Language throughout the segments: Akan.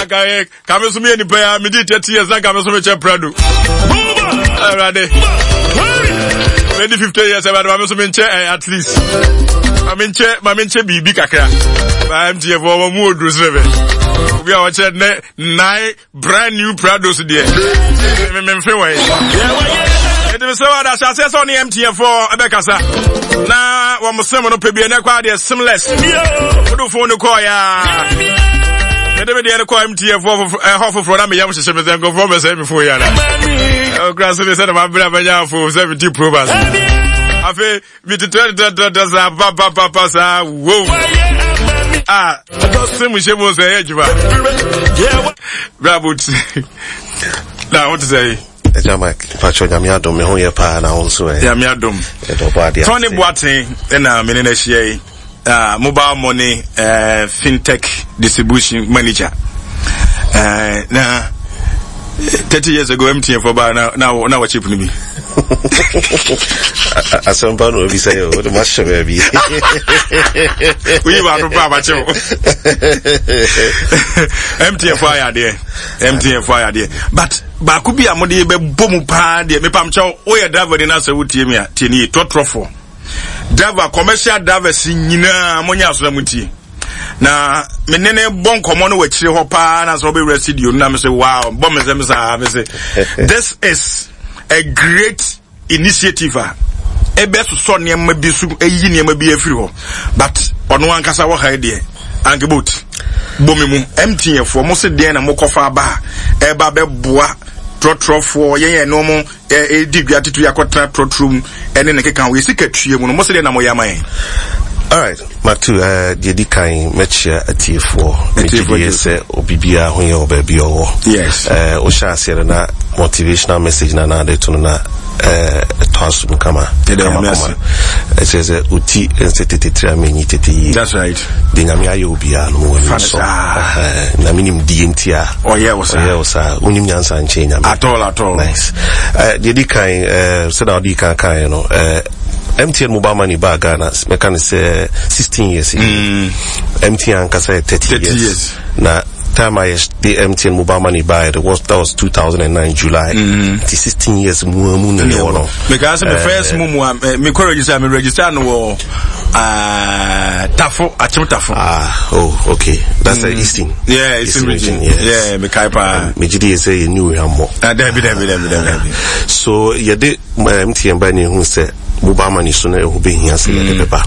Anka yɛ ka me so meyɛ nipa yi a medi 30 years na nka me so mekyɛ prado. Awurade. Medi 50 years awurade ma me so menkyɛ eh, at least. Ma menkyɛ ma menkyɛ biribi kakra. Ma MTF wɔ mu oduro sɛ bɛ. Obi a ɔkyɛ ne nine brand new Prados deɛ memfe wɔ yi ɛnti mesɛ wada hyɛ aseɛ sɛ ɔne MTN foɔ ɛbɛkasa na wɔn sem no pɛ bi ɛnɛ kɔ adeɛ seamless wode phone no kɔɔ yɛ a mede me deɛ no kɔɔ MTN foɔ ɛhɔ foforɔ na meyam hyehyɛ me sɛ nkurɔfoɔ bɛsɛ me phone yɛ ana ɔkura so ne sɛ na mabrɛ a manya phone 70 pro max afei metetɛtetɛtetɛ saa papapapa saa wow a sɛ mu hyɛ mu sɛ ɛyɛ adwuma bravo ti na wote sɛ yi ɛgya mike mpakyɛ nyame adom me ho yɛ paa na wo nso ɛ nyame adom tɔne boaten ɛna mene no ahyia yi uh, mobile money uh, fintech distribution manager uh, na 30 years ago mtn fo ba na na na wɔ chip no bi asɛmpa na obi sɛ yɛ wode mahyɛ baabi woyi baako pa abakye wo mtn fo ayɛ adeɛ mtn fo ayɛ adeɛ but baako bi a mode bɛbɔ mu paa deɛ mepam kyɛw woyɛ driver ni na sɛ wotie mi a tie ne yie trɔtrɔfoɔ driver commercial drivers nyinaa monyɛ aso na motie na me ne ne bɔ nkɔmmɔ no wɔ akyire hɔ paa na sɛ ɔbɛwura studio no na me sɛ wow bɔ me nsɛm saa me sɛ this is a great initiative a ɛbɛsosɔ nneɛma bi so ɛyi nneɛma bi afiri hɔ but ɔno ankasa wɔ ha deɛ ankebot bɔ me mu mtn foɔ mo se deɛn na mokɔfa aba a ɛba bɛboa trɔtrɔfoɔ yɛn yɛn no ɛredi dwa titiri akɔtena trɔtrɔ mu ɛne ne keka ho yɛ sika tua mu no mo sɛ deɛ na moyɛ ama yɛn. Alright, Matu, uh, deɛ di kan mɛkyia atiefoɔ. Megye die sɛ obi biara ho yɛ wɔ baabi ɔwɔ. Yes. Uh, wohyɛ aseɛ no na motivational message na na ade to no na ɛtɔ uh, asom kama. Kama kama. Ɛkyerɛ sɛ oti nsɛ tete tiri ama enyi tete yie. That's right. Deɛ Nyame ayɛ obiara no mowɔ ani sɔ. Nyame nim deɛ nti a ɔyɛ wo saa. Ɔyɛ wo saa. Wonim nyansa nkyɛn Nyame. At all, at all. Nice. Uh, deɛ di kan uh, sɛdeɛ wode kan kaeɛ no uh, MTN mobile money baa Ghana mɛka no sɛ 16 years. Mm. MTN ankasa yɛ 30, 30 years. years. Na time I the MTN mobile money buy it was that was 2009 July. Mm. Nti 16 years mu mu na ne wɔ no. Because my first mu mu me kɔ register me register no wɔ Tafo Akyem Tafo. Ah oh okay that's the Eastern. Yeah Eastern region. Yes. Yeah me kai pa. Me gidi say you knew him more. Ah dabi dabi dabi dabi. So yɛde MTN ba ne hu sɛ mobile money so na ɛho bɛhia sɛ yɛde mm, bɛba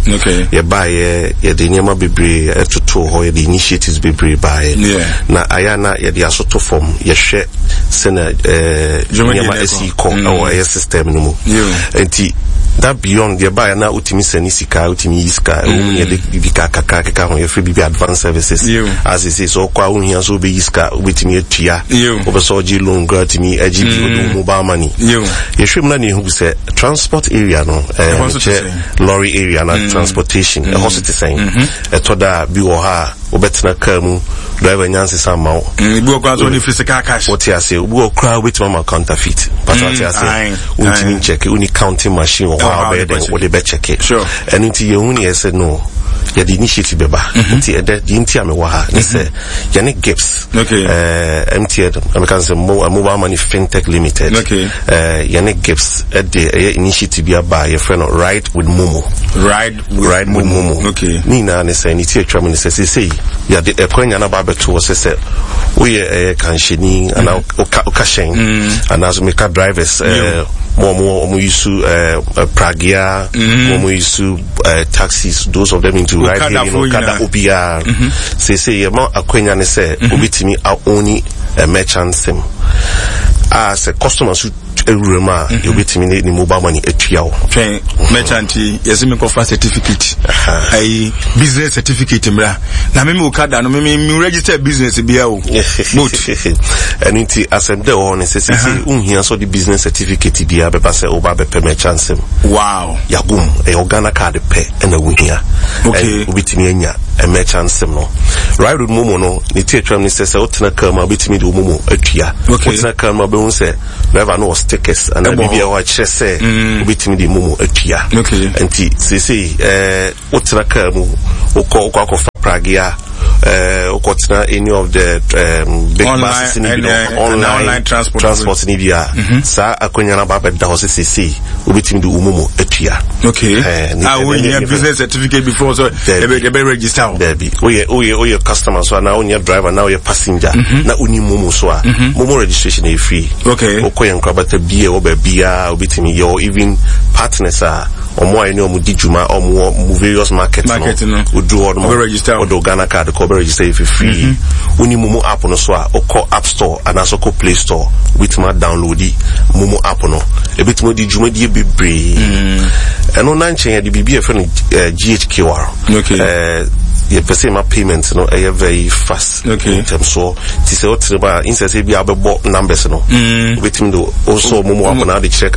yɛbaeɛ yɛde nneɛma bebree ɛtotoo hɔ yɛde initiatives bebree baeɛ na ayɛ na yɛde asoto fam yɛhwɛ sɛnea eh, nneɛma asi kɔ mm. ɛwɔ ɛyɛ system no mu nti that beyond yɛbaeɛ na wotumi sɛne sika wotumi yi sika ɛwɔ mu ne yɛde biribi kakra keka ho yɛfrɛ biribi advance services asese sɛ ɔkɔ a wohia sɛ wobɛyi sika wobɛtumi atua wobɛ sɛ ɔgye loan koraa tumi agye bi wode wo mobile money yɛhwɛ mu na ne yɛhu sɛ transport area no mekyɛ lorry area na mm. transportation ɛhɔ mm. so te sɛn mm-hmm. ɛtɔ da a bi wɔ hɔ a wobɛtena kaa mu driver nya nsesa ma wo mm, ebi wɔ koraa sɛ ɔne physical cash wote aseɛ obi wɔ koraa wobɛtumi ama counterfeit pata wote aseɛ wontumi nkyɛke woni counting machine wɔ hɔ a wobɛyɛ dɛn wode bɛkyɛke ɛno nti yɛhu ne yɛ sɛ no yɛde initiative bɛba mm-hmm. nti ɛdɛ deɛ nti a mewɔ ha ne sɛ mm-hmm. yɛne gips okay. uh, eh, mtn meka sɛ mo, uh, mobile money fintech limited okay. uh, yɛne gips ɛde ɛyɛ initiative bi aba a yɛfrɛ no ride with momo ride with, ride with momo, momo. Okay. ne nyinaa ne sɛ ne ti atwa mu ne sɛ seesei yɛde ɛkwanya no aba abɛto hɔ sɛ sɛ woyɛ ɛyɛ kanhyɛni anaa mm. woka hyɛn mm. anaasɛ meka drivers yeah. mo ɔmo ɔmo yusu uh, pragea mm. mo ɔmo yusu uh, taxis those of them into ride hailing okada obiara mm-hmm. seesei yɛma akwanya ne sɛ mm-hmm. obetumi aoni a merchant sim a sɛ customer so awura mu a mm-hmm. yɛbɛtumi ne ne mobile money atua wo twɛn merchant yi yɛsɛ mekɔfa certificate ayi business certificate mmra na meme okada no meme me register business bia o boat ɛno nti asɛm dɛ wɔ hɔ no sɛ sɛsɛ wonhia sɛ ɔde business certificate biara bɛba sɛ woba bɛpɛ merchant sim wow yagom ɛyɛ wo Ghana card pɛ ɛna wohia okay. wobɛtumi anya merchant sim no right with momo no ne ti atwam ne sɛ sɛ wotena car mu a wobɛtumi de wo momo atua okay. wotena car mu a wobɛhu sɛ driver no wɔ stickers anaa biribi a ɛwɔ akyerɛ sɛ mm. wobɛtumi de momo atua okay. nti seesei eh, wotena car mu wokɔ wokɔ akɔfa pragea Wokɔtena any of the big buses no bi no, online transport no bi a, saa akwanya no aba abɛda hɔ sɛ seesei wobɛtumi de wo momo atua. Okay. A wohia business certificate before so yɛbɛ register wo? Dabi. Woyɛ woyɛ woyɛ customer so anaa wonyɛ driver na woyɛ passenger na wonni momo so a, momo registration ɛyɛ free. Wokɔ yɛn nkorabata bi a ɛwɔ baabiara wobɛtumi yɛwɔ even partners a wɔn a yɛne wɔn di dwuma a wɔn wɔ various market no, woduru hɔ nom wode wo Ghana card kɔ wobɛ register yɛ for free. Wonni momo app no so a, wokɔ app store anaasɛ wokɔ play store wobɛtumi adownloadi momo app no. Ɛbɛtumi adi dwumadie bebree. Ɛno na nkyɛn yɛde biribi a yɛfrɛ no GHQR. Yɛpɛ sɛ yɛma payment no ɛyɛ very fast. Ntɛmsoɔ. Nti sɛ wotere mu a, insɛ sɛ ebia wobɛbɔ numbers no, wobɛtumi de wosɔ momo app no ade kyerɛ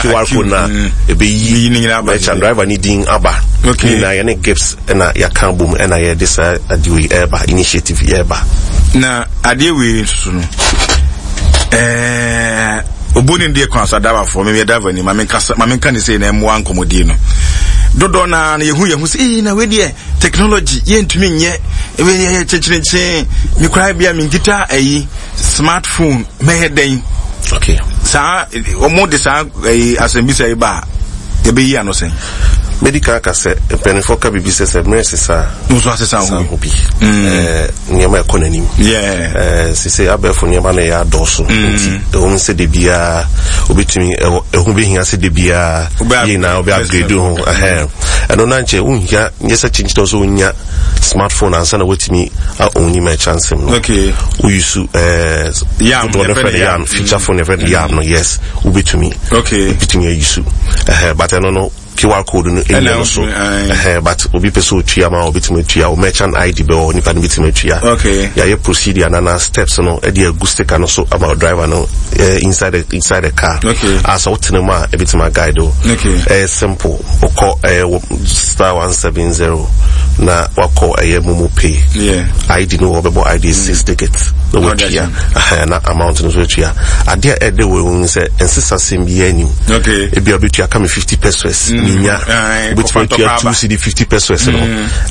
QR code no a, ɛbɛyi merchant driver ne din aba. Nyinaa yɛne GIPS ɛna yɛaka bom ɛna yɛde saa adeɛ wei ɛreba, initiative yi ɛreba. Na adeɛ wei nso so no, ɛɛ obu ne deɛ kwan so adabafoɔ, meyɛ driver ni, ma menka ne sei na ɛmmoa nkɔmmɔdie no. Dodoɔ naa no yɛhu yɛn ho sɛ, ee na wei deɛ Technology yɛntumi nyɛ yɛ kyenkyerenkyen me koraa bia menkita ayi smartphone mɛyɛ dɛn? Okay. Saa wɔn de saa ayi asɛmbisa yi ba a yɛbɛyi ano sɛn? Medi kan aka sɛ mpanimfoɔ ka biribi sɛ sɛ mmerɛ sesa a nso asesa ho bi. Nneɛma ɛkɔ n'anim. Sese abɛɛfo nneɛma no yɛ adɔɔso nti ɛwɔ mu sɛ de biara obetumi ɛho behia sɛ de biara yɛ nyinaa ɔbɛ upgrade ho. Ɛno na nkyɛ wonhia nyɛ sɛ kyenkyerɛ sɛ wonya smartphone ansa na woatumi a ɔnyi merchant sim no. Okay. Woyusu yam dodoɔ no frɛ no yam feature phone yɛfrɛ no yam no, yes, wobɛtumi. Okay. Wobɛtumi ayusu. But ɛno no QR code no ɛnyɛ no so. But obi pɛ sɛ otua ma obɛtumi atua wo merchant ID bɛwɔ nipa no bɛtumi atua. Okay. Yɛayɛ procedure na na steps no ɛde agu sticker no so ama driver no inside the car. Okay. A sɛ wotena mu a ɛbɛtumi aguide wo. Okay. Ɛyɛ simple. Wokɔ ɛyɛ *170 na wakɔ ɛyɛ momo pay. Yeah. ID no wɔbɛbɔ ID 6 digits na watua. Na amount no so atua. Adeɛ a ɛde wɔ mu sɛ nsesa sɛm biara anim. Okay. Ebi a wobɛtua ka me 50 pesos. Minya. Wobɛtumi atua 2 cedi 50 pesos no.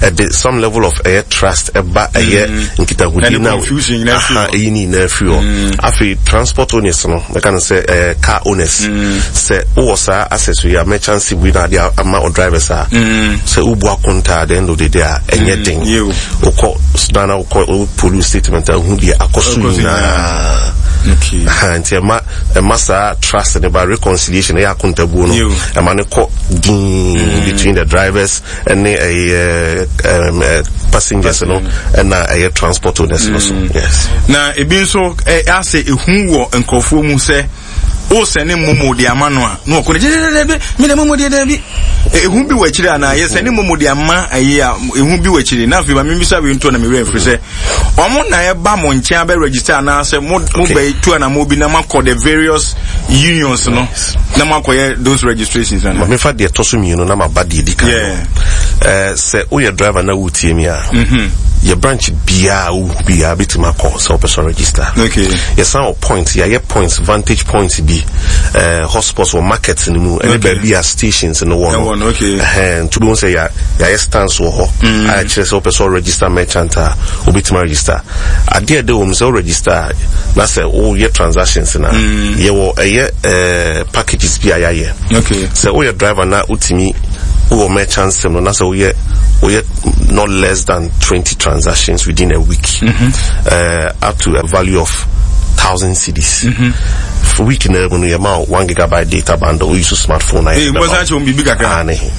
Ɛde some level of ɛyɛ trust ɛba ɛyɛ nkitahodie na ɛyi ne nyinaa firi hɔ. Afei transport owners no mɛka no sɛ car owners sɛ wowɔ saa access yi a merchant sim wei na ade ama o drivers a sɛ wobu akonta at the end of the day a ɛnyɛ den. Wokɔ na wokɔ police statement a wohu deɛ akɔ so nyinaa. Nti ɛma ɛma saa trust ne ba, reconciliation ɛyɛ akontabuo no ɛma ne kɔ din between the drivers ɛne ɛyɛ passengers no ɛna ɛyɛ transport owners no so. Yes. Na ebi nso asɛ ehu wɔ nkurɔfoɔ mu sɛ o sɛne momo de ama no a na ɔkɔ ne gyededede mi na momo deɛ dɛbi ehu bi wɔ akyire anaa yɛ sɛne momo de ama ɛyi a ehu bi wɔ akyire. Na afei ma mi bisa wei nto na mi wura mfiri sɛ wɔn na ɛba mo nkyɛn abɛ register anaasɛ mo mo bɛ tu anamɔ bi na mo akɔ the various unions no na mo akɔyɛ those registrations ana? Maame, fa deɛ ɛtɔ so mmienu na ma ba deɛ di kan no. Sɛ woyɛ driver na wotie mi a, yɛ branch biara wohu biara bɛtumi akɔ sɛ wopɛ sɛ register. Yɛsan wɔ point, yɛayɛ points, vantage points bi, hotspots wɔ market no mu ɛne baabi a stations no wɔ no. Nti wobɛhu sɛ yɛayɛ stands wɔ hɔ a ɛkyerɛ sɛ wopɛ sɛ register merchant a wobɛtumi register. Adeɛ a ɛda wɔ mu sɛ wo register a na sɛ woyɛ transactions no a, yɛwɔ ɛyɛ packages bi a yɛayɛ. Sɛ woyɛ driver na wotumi wowɔ merchant sim no na sɛ woyɛ not less than 20 transactions within a week, up to a value of 1,000 cedis. Week na mu no yɛma 1 gigabyte data bundle, woyi so smartphone na yɛpɛ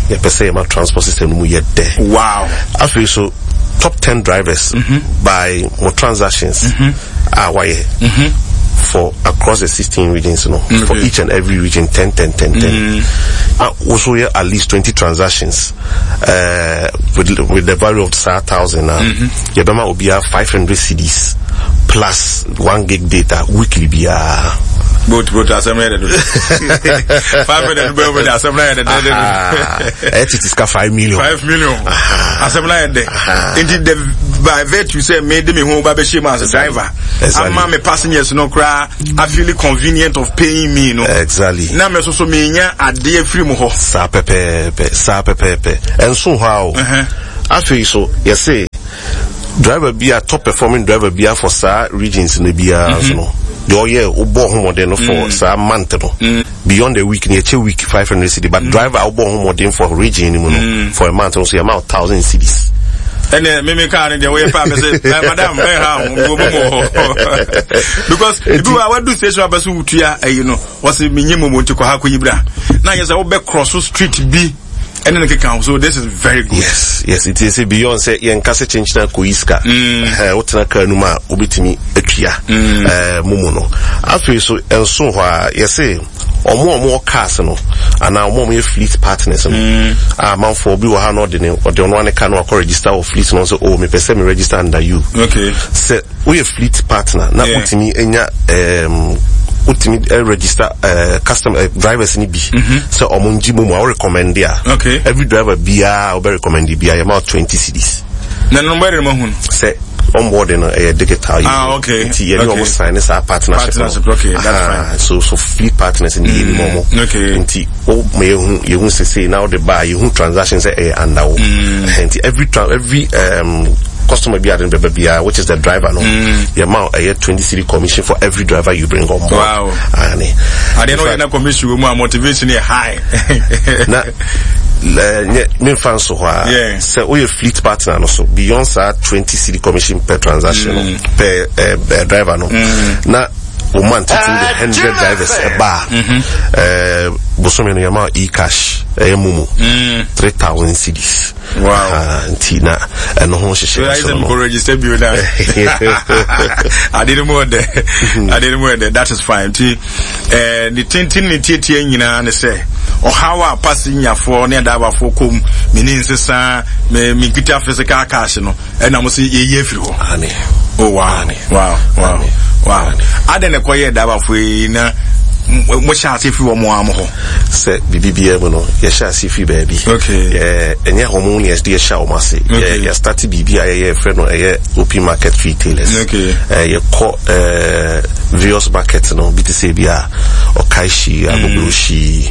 sɛ yɛma transport system no mu yɛ dɛ. Wow. Afei so top 10 drivers by more transactions a wayɛ for across the 16 regions no, for each and every region 10 10 10 10. Also yɛ at least 20 transactions with the value of saa 1,000 na yɛbɛma obiara 500 cedis plus 1 gig data weekly biara. Both both asɛm yɛ dɛ do 500 bɛɛ bɛ de asɛm na yɛ dɛ dɛ dɛ. Ɛyɛ tete sika 5 million. 5 million asɛm na yɛ dɛ. Nti the by virtue sɛ me de me ho ba bɛ hyɛ mu as a driver ama me passengers no koraa I feel convenient of paying me no. Na me nso so me nya adeɛ firi mu hɔ. Saa pɛpɛɛpɛ, saa pɛpɛɛpɛ. Ɛnso hɔ a o. Afei so yɛse Driver bi a top performing driver bi a for saa regions no biara nso no, deɛ ɔyɛ wobɔ ho mmɔden no for saa month no, beyond a week no yɛkyɛ week 500 cedi, but driver a wobɔ ho mmɔden for region no mu no for a month no so yɛma wo 1000 cedis. Ɛnɛ mímí kaa ne deɛ woyɛ paa mɛ sɛ ɛ madam bɛn ha ho wo mu wɔ because ebi wa wadu station abɛ so wutua ɛyi no wɔsi mi nye momo nti kɔ ha kɔ yi bra na yɛ sɛ wobɛ cross street bi ɛne ne keka ho, so this is very good. Yes, it is beyond sɛ yɛnka sɛ kyenkyena kɔyi sika. Wotena kaa no mu a wobɛtumi atua momo no. Afei so ɛnso hɔ a yɛse ɔmo a ɔmo wɔ cars no anaa ɔmo a ɔmo yɛ fleet partners no, a amanfoɔ bi wɔ ha na ɔde ne ɔde ɔno ane car no akɔ register wɔ fleet no sɛ, "Oh, mepɛ sɛ me register under you." Sɛ woyɛ fleet partner na wotumi nya wotumi register customer drivers ni bi sɛ ɔmo ngye momo a wo recommend a, every driver biara a wobɛ recommend biara yɛma wo 20 cedis. Na no bɛyɛ ma hun. Sɛ onboarding no ɛyɛ digital yi. Ah, okay. Nti yɛne ɔmo sign ne saa partnership no. Partnership, okay, that's fine. So fleet partners ni yɛnim ɔmo. Nti wo ma yɛhu yɛhu sese na wode ba a yɛhu transaction sɛ ɛyɛ under wo. Nti every customer bi ade no bɛba biara, which is the driver no, yɛma wo ɛyɛ 20 cedi commission for every driver you bring on board. Ane. Adeɛ no yɛ na commission wɔ mu a motivation yɛ high. Na nyɛ memfa nso hɔ a, sɛ woyɛ fleet partner no so beyond saa 20 cedi commission per transaction no per driver no, na wo month tumi de 100 drivers ɛba a, bosome no yɛma wo e-cash ɛyɛ momo 3000 cedis. Nti na ɛno ho hyehyɛ so no. Register bio na ade no mu ɔdɛ, ade no mu ɔdɛ. That is fine. Nti ne tenten ne tietie nyinaa ne sɛ ɔhaw a passengerfoɔ ne adaabafoɔ kɔm mene nsesa me menkita physical cash no ɛna mo sɛ yɛyi afiri hɔ. Oh wow. Adɛn na ɛkɔyɛ adaabafoɔ yi na mohyɛ ase firi wɔn a mo hɔ? Sɛ biribi biara mu no yɛhyɛ ase firi baabi. Ɛnyɛ hɔ mo ne yɛde yɛhyɛ wɔn ase. Yɛstarte biribi a yɛyɛ frɛ no ɛyɛ open market retailers. Yɛkɔ various market no bi te sɛ bi a Ɔkaehyi, Agbogbloshie,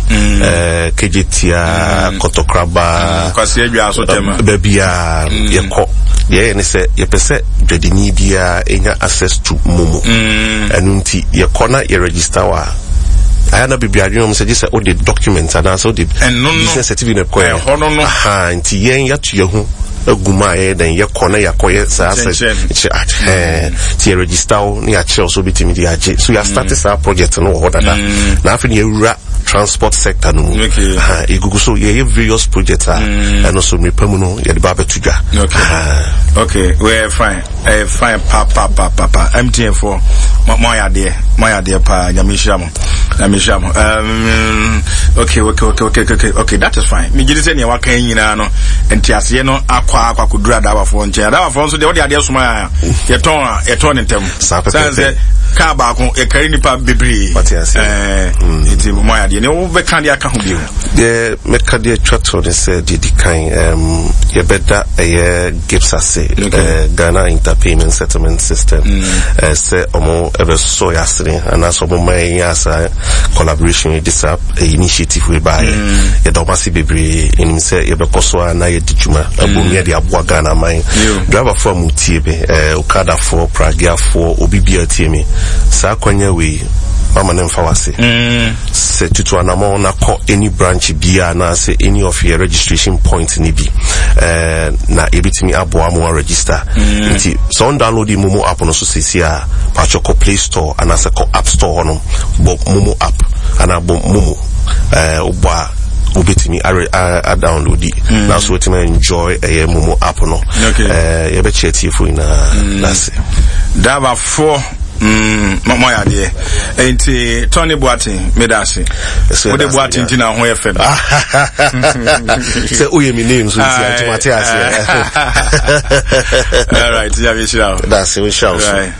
Kejetia, Kɔtɔkraba, baabi a yɛkɔ. Deɛ ɛyɛ ne sɛ yɛpɛ sɛ dwadini biara ɛnya access to momo. Ɛno nti yɛkɔ na yɛregister wɔ a ayɛ na bebree adwene wɔn sɛ gye sɛ wode document anaasɛ wode business certificate kɔ yɛ. Aha, nti yɛn yɛato yɛn ho agu mu a yɛyɛ dɛn yɛkɔ na yɛakɔ yɛ saa sɛ kyerɛ nti yɛ register wo na yɛakyerɛ wo sɛ wobɛtumi de agye so. Yɛastarte saa project no wɔ hɔ dada na afei ne yɛwura transport sector no mu. Ɛgugu so yɛyɛ various projects a ɛno so mmerɛ mu no yɛde ba abɛto dwa. Okay, we're fine. Fine pa pa pa pa pa. MTN for mo ayɛ adeɛ, mo ayɛ adeɛ paa. Nyame nhyira mo, Nyame nhyira mo. Okay, that is fine. Megye di sɛ nea waka yi nyinaa no nteaseɛ no akɔ akɔduru adaabafoɔ nkyɛn. Adaabafoɔ nso deɛ wɔde adeɛ soma a yɛtɔn a yɛtɔn ne ntɛm. Saa Sane pɛpɛpɛ. sɛ kaa baako yɛkari nipa bebree. Wate aseɛ. Nti mo ayɛ adeɛ. Nea wobɛka deɛ aka ho bio? Deɛ mɛka deɛ atwa to ne sɛ deɛ di kan, yɛbɛda ɛyɛ GhIPSS ase, Ghana Interpayment Settlement System, sɛ ɔmo ɛbɛsɔ yɛ asene anaasɛ ɔmo ma yɛnyɛ saa collaboration yi de saa initiative wei baayɛ. Yɛda ɔmo ase bebree. Ɛnim sɛ yɛbɛkɔ so a na yɛdi dwuma abom yɛde aboa Ghana man. Driverfoɔ a motie me, okadafoɔ, pragiafoɔ, obi biara tie me, saa kwanya wei mama ne mfa wase sɛ tutu anammɔn na kɔ any branch biara anaasɛ any of your registration point ne bi, na yɛbɛtumi aboa mo register. Nti sɛ on download momo app no so sesi a, patwɛ kɔ Play Store anaasɛ kɔ App Store hɔ no, bɔ momo app anaa bɔ momo, wobɔ a wobɛtumi a download na so wobɛtumi enjoy ɛyɛ momo app no. Yɛbɛkyerɛ tiefo nyinaa nase. Driverfoɔ, mo ayɛ adeɛ. Nti Tony Boateng, meda ase. Wode Boateng nti na ho yɛ fɛ no. Sɛ woyɛ me name so nti nti mate aseɛ. All right, nyame nhyira wo. Dase, wo nhyira wo so. Right.